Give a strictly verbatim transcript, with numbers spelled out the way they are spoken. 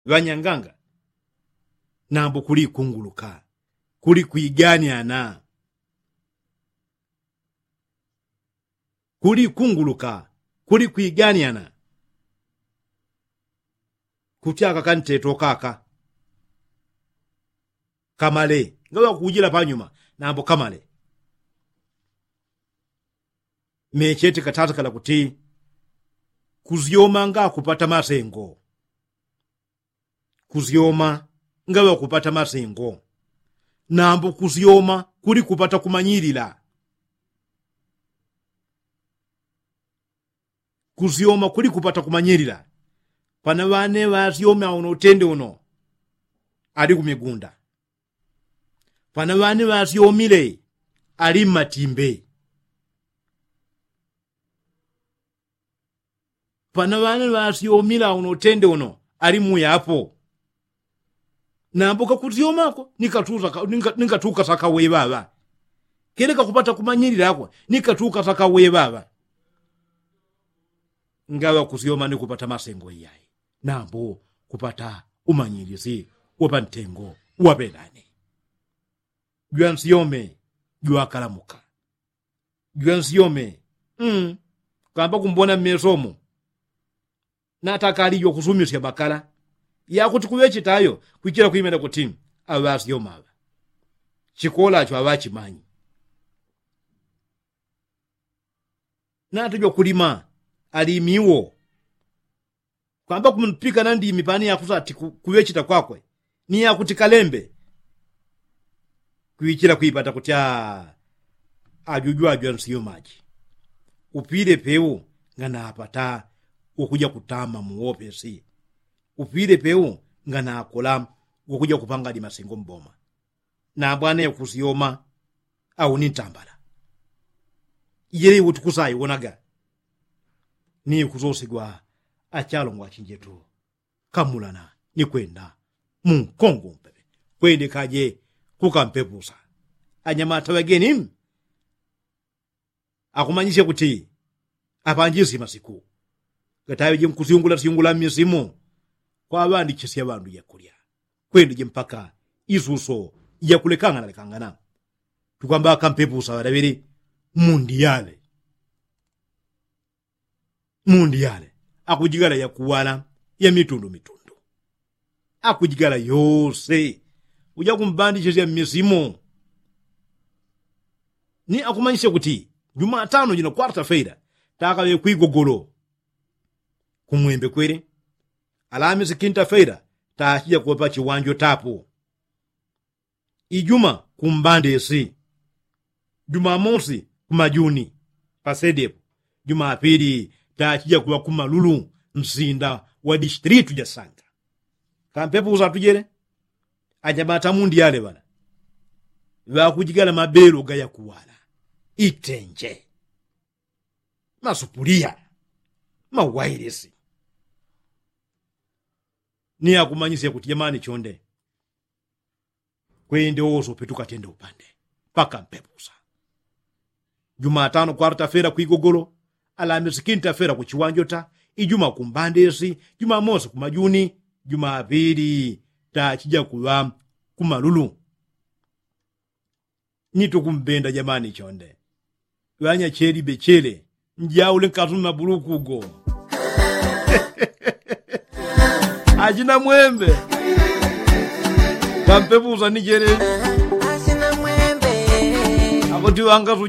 Ŵanyanganga, nambo kuli kunguluka, kuli kwiganyana, kuli kunguluka, kuli kwiganyana. Kuti aka kanteto kaka kamale ngaŵa kujila panyuma, nambo kamale. Mechete katatakala kuti kusyoma nga kupata masengo. Kusyoma ngaŵa kupata masengo. Nambo kusyoma kuli kupata kumanyilila. Kusyoma kuli kupata kumanyilila. Pana ŵane ŵasyome auno utende uno ali kumigunda. Pana ŵane ŵasyomile ali mmatimbe. Pana ŵane ŵasyomile auno utende uno ali muyapo. Nambo kakusyomako ni katuka sakawe ŵaŵa. Kele kakupata kumanyililako ni katuka sakawe ŵaŵa. Ngaŵa kusyoma ni kupata masengo iyayi, nambo kupata umanyilisi wa pantengo wa ŵelane. Jwansyome jwakalamuka. Jwansyome, mm, kamba kumbona mmesomo. Natakali jwakusumisya makala yakuti kuŵechitayo kwichila kwimena kuti aŵasyoma aŵa chikolacho aŵachimanyi. Nata jwakulima alimiwo. Kwamba kumpika na ndimi pani yakuti ati kuŵechita kwakwe ni yakuti kalembe. Kwichila kwipata kuti ajuju ajwansiyo maji. Upile peu nganapata wakuja kutama muwopesi. Upile peu nganakola wakuja kupanga limasingo mboma. Nabwana yakusyoma au ni ntambala. Ijele iwo tukusayiwonaga ni kusosigwa achalongwa achinjetu. Kamulana ni kwenda munkongo mpepe kwende kaje kukampepusa. Anyamata ŵageni akumanyisya kuti apanjisye masiku gataŵeje nkusyungula syungula mmisimu kwaŵandichisya ŵandu jakulya. Kwendeje mpaka isuso jakulekangana lekangana. Tukwamba akampepusa ŵalaŵele mundiyale. Mundi yale akujigala yakuwala ya mitundu mitundu. Akujigala yose uja kumbandichisya mmisimo. Ni akumanyisya kuti jumatano jina kwarta feira takaŵe kwigogolo. Kumwembe kwele alamisi kinta feira tachija kuŵa pachiwanjo tapu. Ijuma kumbandesi. Jumamosi kumajuni pasedepo. Jumapili tachija kuŵa kumalulu nsinda wa distilitu jasanga. Kampepo usatujele anyamata mundi yale ŵala ŵakujigala mabelo gayakuwala itenje masupuliya mawailisi. Ni akumanyisya kuti jamani chonde kwende woso petukatende upande paka mpepusa. Jumatano kwarta fera kwigogolo. Alamisi kinta fera kuchiwanjota. Ijuma kumbandesi. Jumamosi kumajuni. Jumapili tachija kuŵa kumalulu. Ni tukumbenda jamani chonde. Ŵanyacheli bechele njaule nkasumi mabuluku ugo. Achina mwembe kampepusa ni chele. Achina mwembe akuti ŵangasuja.